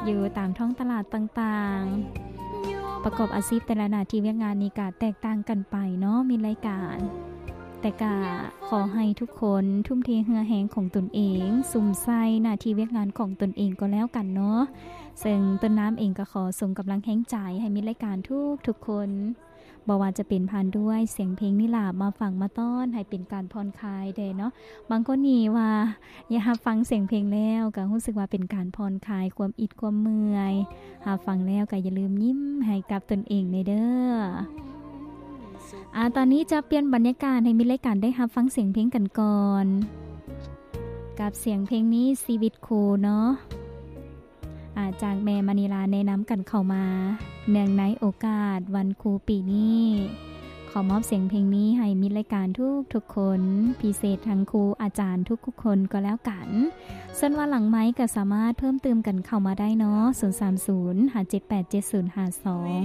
ຢູ່ຕາມທ້ອງຕະຫຼາດຕ່າງໆ ປະກອບອາຊີບແຕ່ລະໜ້າທີ່ວຽກງານນີ້ກະແຕກຕ່າງກັນໄປເນາະ ມິດລາຍການ. ແຕ່ກະຂໍໃຫ້ທຸກຄົນທຸ່ມເທເຫື່ອແຮງຂອງຕົນເອງ ສຸມໃສ່ໜ້າທີ່ວຽກງານຂອງຕົນເອງກໍແລ້ວກັນເນາະ. ເຊິ່ງຕົ້ນນ້ຳເອງກໍຂໍສົ່ງກຳລັງແຮງໃຈໃຫ້ມິດລາຍການທຸກໆຄົນ ບໍ່ວ່າຈະເປັນຜ່ານດ້ວຍສຽງເພງນີ້ລະ ມາຟັງມາຕ້ອນໃຫ້ເປັນການຜ່ອນຄາຍແດ່ເນາະ. ບາງຄົນນີ້ວ່າ ຢາກຮັບຟັງສຽງເພງແລ້ວກໍຮູ້ສຶກວ່າເປັນການຜ່ອນຄາຍຄວາມອິດຄວາມເມື່ອຍ, ຮັບຟັງແລ້ວກໍຢ່າລືມຍິ້ມໃຫ້ກັບຕົນເອງແດ່ເດີ້. ອາ ຕອນນີ້ຈະປ່ຽນບັນຍາກາດໃຫ້ມິດລາຍການໄດ້ຮັບຟັງສຽງເພງກັນກ່ອນ ກັບສຽງເພງນີ້ ຊີວິດຄູເນາະ. ອາ ຈາກແມ່ມະນີລາແນະນຳກັນເຂົ້າມາ ເນື່ອງໃນໂອກາດວັນຄູປີນີ້ ຂໍມອບສຽງເພງນີ້ໃຫ້ມິດລາຍການທຸກໆຄົນ ພິເສດທັງຄູອາຈານທຸກໆຄົນກໍແລ້ວກັນ. ສ່ວນວ່າຫຼັງໄມກໍສາມາດເພີ່ມຕື່ມກັນເຂົ້າມາໄດ້ເນາະ ສູນສາມສູນ ຫ້າເຈັດແປດ ເຈັດສູນຫ້າສອງ.